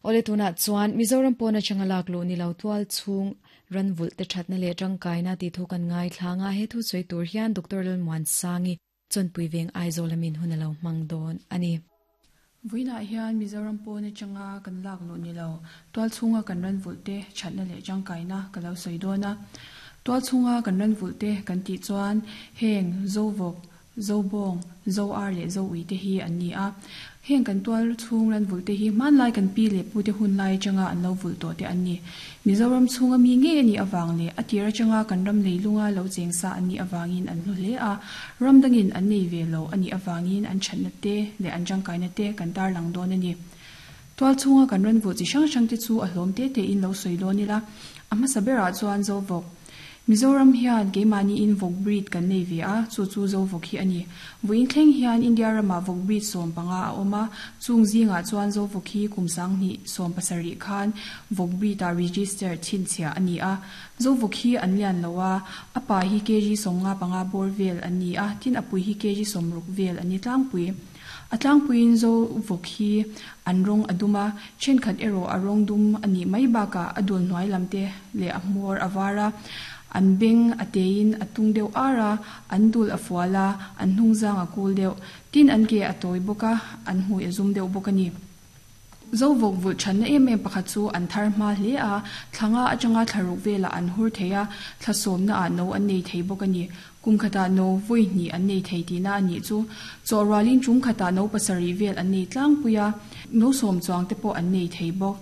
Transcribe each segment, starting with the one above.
Awle tunah chuan Mizoram pawn atanga lak luh ni lo tual chhung ran vulh te thatna leh tangkaina tih thu kan ngaithlang a, he thu sawi tur hian Doctor Lalmuansangi Chawnpui Veng Aizawl amin hun a lo hmang dawn a ni. Vawiinah hian Mizoram pawn atanga kan lak luh ni lo tual chhunga kan ran vulh te thatna leh tangkaina ka lo sawi dawn a. Tual chhunga kan ran vulh te kan tih chuan heng Zovawk, Zobawng, Zo-ar leh Zo-ui te hi an ni a. Heng kan tual chhung ran vulh te hi hmanlai kan pi leh pu te hun lai atanga an lo vulh tawh te an ni. Mizoram chhunga mi ngei a nih avang leh a tir atanga kan ram leilunga lo cheng sa an nih avangin an hlu hle a, ram dangin an nei ve lo a nih avangin an thatna te leh an tangkaina te kan tarlang dawn a ni. Tual chhunga kan ran vulh chi hrang hrang te chu a hlawm te tein lo sawi dawn ila, a hmasa berah chuan Zovawk, Mizoram hian keimahniin vawk breed kan nei ve a, chu chu Zo vawk hi a ni. Vawiin thleng hian India ramah vawk breed 15 a awm a, chung zingah chuan Zo vawk hi kum 2017 khan vawk breed ah register chhinchhiah a ni a. Zo vawk hi an lian lo a, a pa hi kg 55 bawr vel an ni a, tin a pui hi kg 60 vel an ni tlangpui. A tlangpuiin Zo vawk hi an rawng a dum a, thenkhat erawh a rawng dum a nih mai bakah a dul hnuai lam te leh a hmawr a var a, an beng a teiin a tung deuh ar a, an dul a fual a, an hnungzang a kul deuh. Tin an ke a tawi bawk a, an hmui a zum deuh bawk a ni. Zo vawk vulh thanna em em pakhat chu an thar hma hle a, thla nga atanga thla ruk velah an hur thei a, thla sawmna ah no an nei thei bawk a ni. Kum khatah no vawi hnih an nei thei tihna a nih chu. Chawh rualin tum khatah no pasarih vel an nei tlangpui a, no sawm chuang te pawh an nei thei bawk.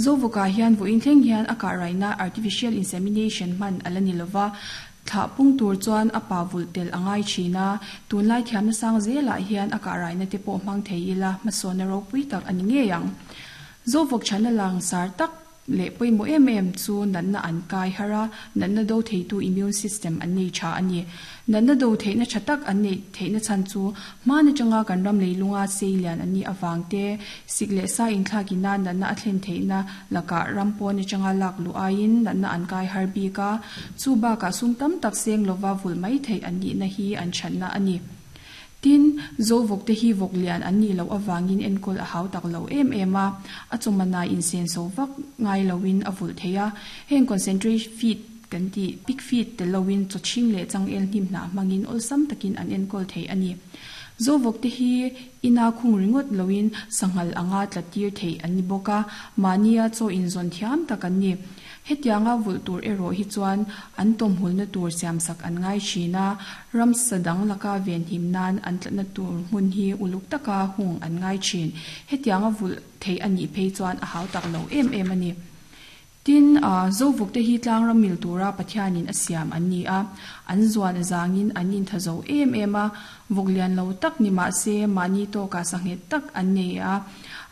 Zo vawkah hian vawiin thleng hian a kah raihna artificial insemination hman a la ni lova, Thlah pung tur chuan a pa vulh tel a ngai thin a, tunlai thiamna sang zelah hian a kah raihna te pawh hmang thei ila hmasawnna ropui tak a ni ngei ang. Zovawk chhanna langsar tak leh pawimawh em em chu natna an kai har a, natna do theitu immune system an nei tha a ni. Natna do theihna tha tak an neih theihna chhan chu hman atanga kan ram leilunga sei lian an nih avang te, Sik leh sa inthlakina natna a thlen theihna lakah ram pawn atanga lak luh aiin natna an kai har bik a, chu bakah sum tam tak seng lova vulh mai theih an nihna hi an thatna a ni. Tin, Zo vawk te hi vawk lian an nih loh avangin enkawl a hau tak lo em em a, a chawmana insenso vak ngai loin a vulh thei a, heng concentrate feed kan tih pig feed tel loin chaw chhing leh changel hnim hnah hmangin awlsam takin an enkawl thei a ni. Zo vawk te hi Ina khung ringawt loin sanghal anga tla tir theih an ni bawk a, mahnia chaw inzawn thiam tak an ni. Hetianga vulh tur erawh hi chuan an tawmhulna tur siamsak an ngai thin a, ramsa dang laka venhim nan an tlatna tur hmun hi uluk taka hung an ngai thin. Hetianga vulh theih a nih phei chuan a hau tak lo em em a ni. Tin, Zovuk te hi tlangram mil tura Pathianin a siam an ni a, an zuan azangin an intha zo em em a, vawk lian lo tak ni mah se mahni tawkah sanghet tak an nei a,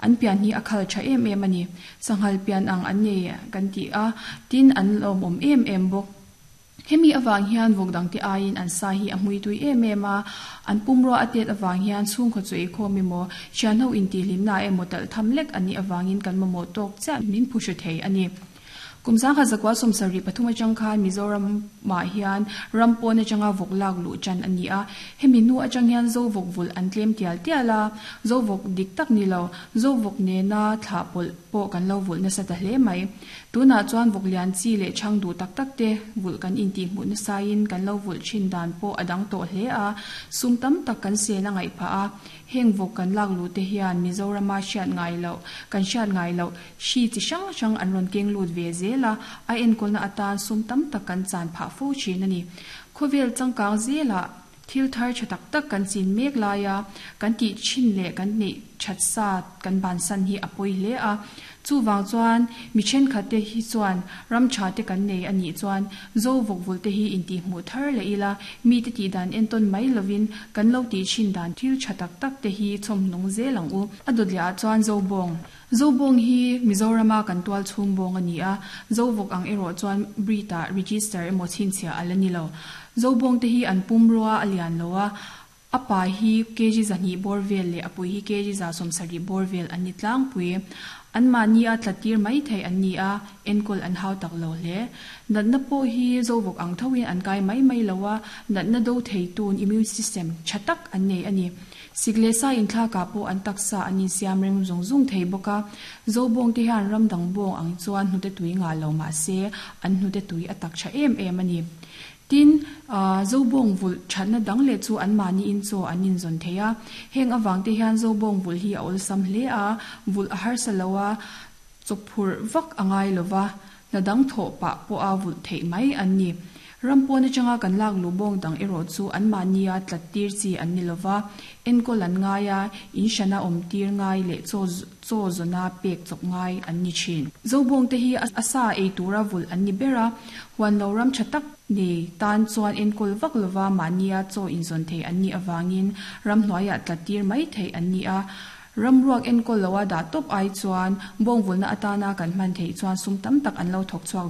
an pian hi a khal tha em em a ni. Sanghal pian ang an nei kan ti a, tin an lawmawm em em bawk. Hemi avang hian vawk dangte aiin an sa hi a hmui tui em em a, an pumrua a tet avang hian chhungkaw chu eikhawm emaw, thianho intihhlimna emaw talh tham lek an nih avangin kan mamawh tawk chiah min phu hre thei a ni. Kum 1973 atang khan Mizoramah hian ram pawn atanga vawk lak luh tan a ni a, hemi hnu atang hian Zo vawk vulh an tlem tial tial a, Zo vawk dik tak ni lo, Zo vawk nena thlah pawlh pawh kan lo vulh nasa ta hle mai. Tunah chuan vawk lian chi leh chhang duh tak tak te vulh kan intih hmuh nasaiin kan lo vulh thin dan pawh a dang tawh hle a, sum tam tak kan sen a ngaih phah a. Heng vawk kan lak luh te hian Mizorama hriat ngai loh, kan hriat ngai loh hri chi hrang hrang an rawn keng lut ve zel a, a enkawlna atan sum tam tak kan chan phah fo thin a ni. Khawvel changkang zelah Thil thar tha tak tak kan chin mek laia kan tih thin leh kan neih that sa kan bansan hi a pawi hle a. Chuvang chuan mi thenkhat te hi chuan ram tha te kan nei a nih chuan Zo vawkvul te hi intihhmuh thar leh ila, mi te tih dan entawn mai lovin kan lo tih thin dan thil tha tak tak te hi chhawmhnung zel ang u. A dawtliah ah chuan Zobawng. Zobawng hi Mizorama kan tual chhung bawng a ni a, Zovawk ang erawh chuan breed ah register emaw chhinchhiah a la ni lo. Zobawng te hi an pumrua a lian lo a, a pa hi kg 200 bawr vel leh a pui hi kg 170 bawr vel an ni tlangpui. Anmahni a tla tir mai thei an ni a, enkawl an hau tak lo hle. Natna pawh hi Zovawk ang thoin an kai mai mai lo a, natna do thei tun immune system tha tak an nei a ni. Sik leh sa inthlakah pawh an taksa an insiam reng zung zung thei bawk a. Zobawng te hian ram dang bawng ang chuan hnute tui ngah lo mah se an hnute tui a tak tha em em a ni. Tin, Zobawng vulh thatna dang leh chu anmahniin chaw an inzawn thei a. Heng avang te hian Zobawng vulh hi a awlsam hle a, vulh a harsa lo a, chawphurh vak a ngai lo va, hna dang thawh pah pawha vulh theih mai an ni. Ram pawn atanga kan lak luh bawng dang erawh chu anmahnia tlat tir chi an ni lo va, enkawl an ngai a, in hrana awm tir ngai leh chaw chaw zawna pek chawp ngai an ni thin. Zobawngte hi a sa ei tura vulh an ni ber a, huan lo ram tha tak nei tan chuan enkawl vak lova mahnia chaw inzawn thei an nih avangin ramhnuaiah tlat tir mai theih an ni a. Ramruak enkawl loa dah tawp ai chuan bawngvulna atana kan hman theih chuan sum tam tak an lo thawk chhuak.